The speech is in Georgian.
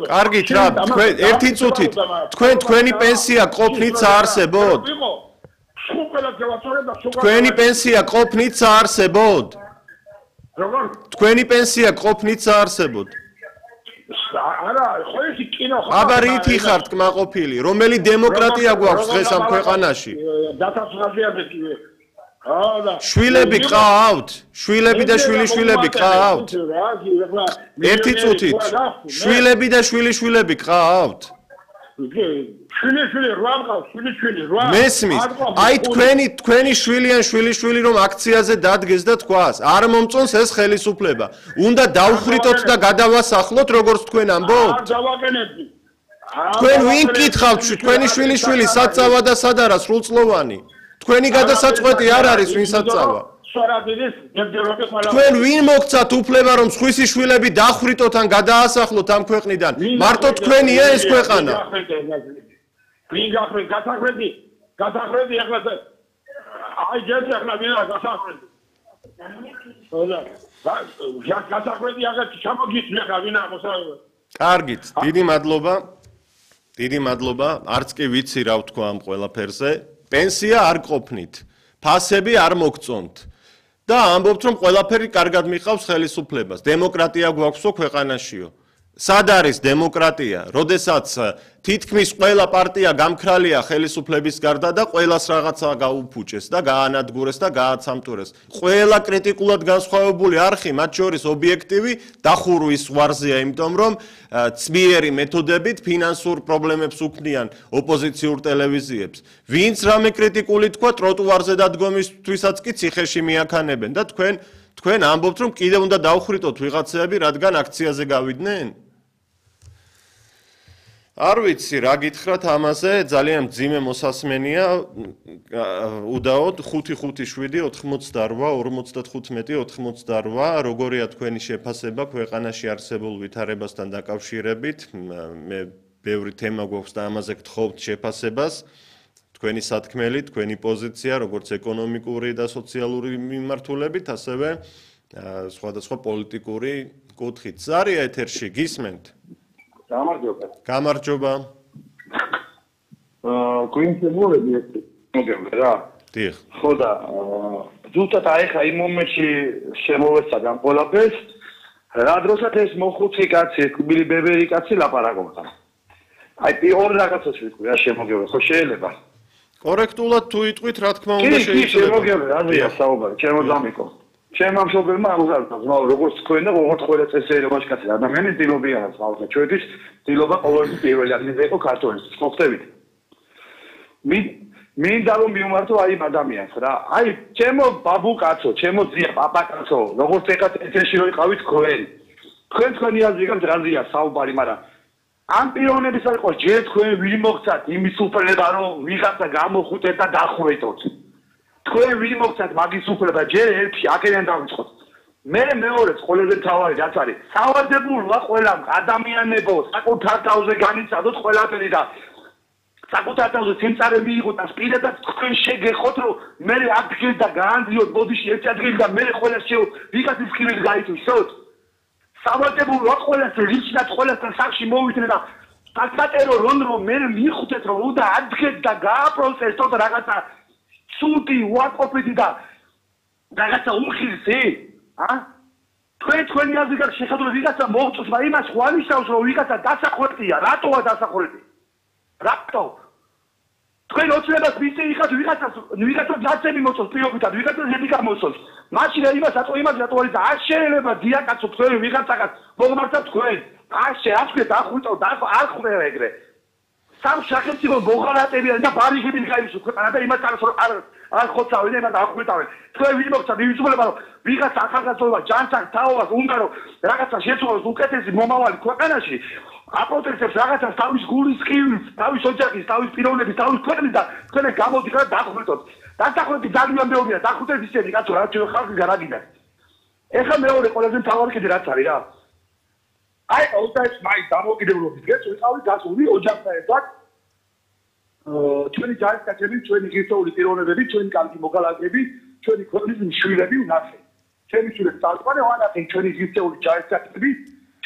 კარგით რა, ერთი წუთით, თქვენი პენსია ყოფნით საარსებოდ? თქვენი პენსია ყოფნით საარსებოდ? თქვენი პენსია ყოფნით საარსებოდ? აბა რითი ხართ კმაყოფილი? რომელი დემოკრატია გვაქვს დღეს ამ ქვეყანაში? შვილები ყავთ? შვილები და შვილიშვილები ყავთ? ერთი წუთით. შვილები და შვილიშვილები ყავთ? შვილიშვილი 8 ყავს, შვილიშვილი 8. მესმის. აი თქვენი შვილი ან შვილიშვილი რომ აქციაზე დადგეს და თქვას, არ მომწონს ეს ხელისუფლება. უნდა დავხრიტოთ და გადავასახლოთ როგორც თქვენ ამბობთ? არ დავაყენებდი. თქვენ ვინ გითხავთ თქვენი შვილიშვილი საწავა და სად არა სრულწლოვანი? თქვენი გადასაწყვეტი არ არის ვინსაც წავა. თქვენ ვინ მოგცათ უფლება რომ სხვისი შვილები დახრიტოთ ან გადაასახლოთ ამ ქვეყნიდან? მარტო თქვენია ეს ქვეყანა. ვინ გახვრით გასახრები ახლა აი ჯერჯერ ახლა ვინა გასახრები. გასახრები ახლა ჩამოგიწვი ახლა ვინა მოსაუბრე. კარგით, დიდი მადლობა. არც კი ვიცი რა ვთქვა ამ ყველაფერზე. პენსია არ ყოფნით, ფასები არ მოგწონთ და ამბობთ რომ ყველაფერი კარგად მიყავს ხელისუფლებას. დემოკრატია გვაქვსო ქვეყანაშიო. სად არის დემოკრატია? როდესაც თითქმის ყველა პარტია გამქრალია ხელისუფლების გარდა და ყველას რაღაცა გაუფუჭეს და გაანადგურეს და გააცამტურეს. ყველა კრიტიკულად განსხვავებული არხი, მათ შორის ობიექტივი, დახურვის ზღვარზეა, იმიტომ რომ ცმიერი მეთოდებით ფინანსურ პრობლემებს უქმნიან ოპოზიციურ ტელევიზიებს. ვინც რამე კრიტიკული თქვა, ტროტუარზე დადგომისთვისაც კი ციხეში მიაქანებენ და თქვენ ამბობთ რომ კიდევ უნდა დავხრიტოთ ვიღაცები, რადგან აქციაზე გავიდნენ? არ ვიცი რა გითხრათ ამაზე, ძალიან მძიმე მოსასმენია. უდაოდ 5-5-7-88-55-88. როგორია თქვენი შეფასება ქვეყანაში არსებულ ვითარებასთან დაკავშირებით? მე ბევრი თემა გვაქვს და ამაზე გთხოვთ შეფასებას. თქვენი სათქმელი, თქვენი პოზიცია, როგორც ეკონომიკური და სოციალური მიმართულებით, ასევე სხვადასხვა პოლიტიკური კუთხით. ზარია ეთერში, გისმენთ? გამარჯობა. გვინცემულები მოგემრე რა. დიახ. ხო და ზუსტად აი ხა იმ მომენტში შემოვეცად ამ ყველაფერს, რა დროსაც ეს მოხუცი კაცი, კბილი ბებერი კაცი ლაპარაკობდა. აი პირველ რაღაცას ვიტყვი რა შემოგემრე, ხო შეიძლება? კორექტულად თუ იტყვით, რა თქმა უნდა შეიძლება. კი, შემოგემრე, აზრია საუბარი, ჩემო ჩემ ამ შობერმა აღზარდა ზმაო როგორც თქვენ და როგორც ყველა წესიერებაში კაცი ადამიანის დილობიანად ზმაო ჩვენთვის დილობა ყოველთვის პირველი ადგილზე იყო ქართველის ხოხდებით მინდა რომ მივმართო აი ამ ადამიანს რა აი ჩემო ბაბუკაცო ჩემო ძია პაპაკაცო როგორც ეხლა წესში რო იყავით თქვენი აზრი გაქვთ რაზეა საუბარი მაგრამ ამ პიროვნების არ იყო ჯერ თქვენ ვინ მოგცათ იმის უფლება რომ ვიღაცა გამოხუტეთ და დახრეტოთ თქვენ ვინ მოგცათ მაგის უფლება ჯერ ერთი აქედან დავიწყოთ მე მეორეც ყველაზე თავარი რაც არის სავალდებულოა ყველამ ადამიანებო საკუთარ თავზე განიცადოთ ყველაფერი და საკუთარ თავზე სიმწარე მიიღოთ და სპირადად თქვენ შეგეხოთ რომ მე ადგილ და გაანძიოთ ბოდიში ერთი ადგილი და მე ყველა ვიღაცის ხილით გაიწვიოთ სავალდებულოა ყველას რიჩნად ყველასთან სახში მოვიდნენ და საკატერო რომ მე მიხუთეთ რომ უნდა ადგეთ და გააპროცესოთ რაღაცა სუდი ვაკოფიდი და რაღაცა უმხილსი თქვენი აზრი გაქვს შეხედულები ვიღაცა მოვწოს მაგრამ იმას ხვალისავს რომ ვიღაცა დასახვრეტია რატოა დასახვრეტი რატო თქვენ ოცნებას მისწიხათ ვიღაცა დაცემი მოწოს პირობითად ვიღაცა ზედი გამოსოს მაშინ იმას რატო არის და არ შეიძლება დიაკაცო თქვენ ვიღაცაგან მოგმართავთ თქვენ არ შეაჩვეთ ახვიტო და არ ხვდება ეგრე სამ სახელმწიფო მოღალატებიან და ბარიგებით გაივსო ქვეყანა და იმას არ ხოცავენ და ახვიტავენ თქვენ ვინ მოგცათ ივიწყდება რომ ვიღაცა ახალგაზრდობა ჯანსაღ თაობას უნდა რომ რაღაცა შეცვალოს უკეთესი მომავალი ქვეყანაში აპროტესტებს რაღაცას თავის გულის ხივის თავის ოჯახის თავის პიროვნების თავის ქვეყნის და თქვენ გამოდიხართ დახვიტოთ დასახვრეტი ძალიან მეორეა დახვიტეთ ისეთი კაცო რა ჩვენ ხალხი გარაგიდან ეხლა მეორე ყველაზე მთავარი კიდე რაც არის რა აი ოდესმ მაი დამოკიდებულობის დღეს ვიყავით გასული ოჯახთან ერთად ჩვენი ჯარისკაცები, ჩვენი ღირსეული პიროვნებები, ჩვენი კარგი მოგალაგები, ჩვენი ქვეყნის მშვილები ვნახე. ჩემი შვილებს წარყვანე ვანახე ჩვენი ღირსეული ჯარისკაცები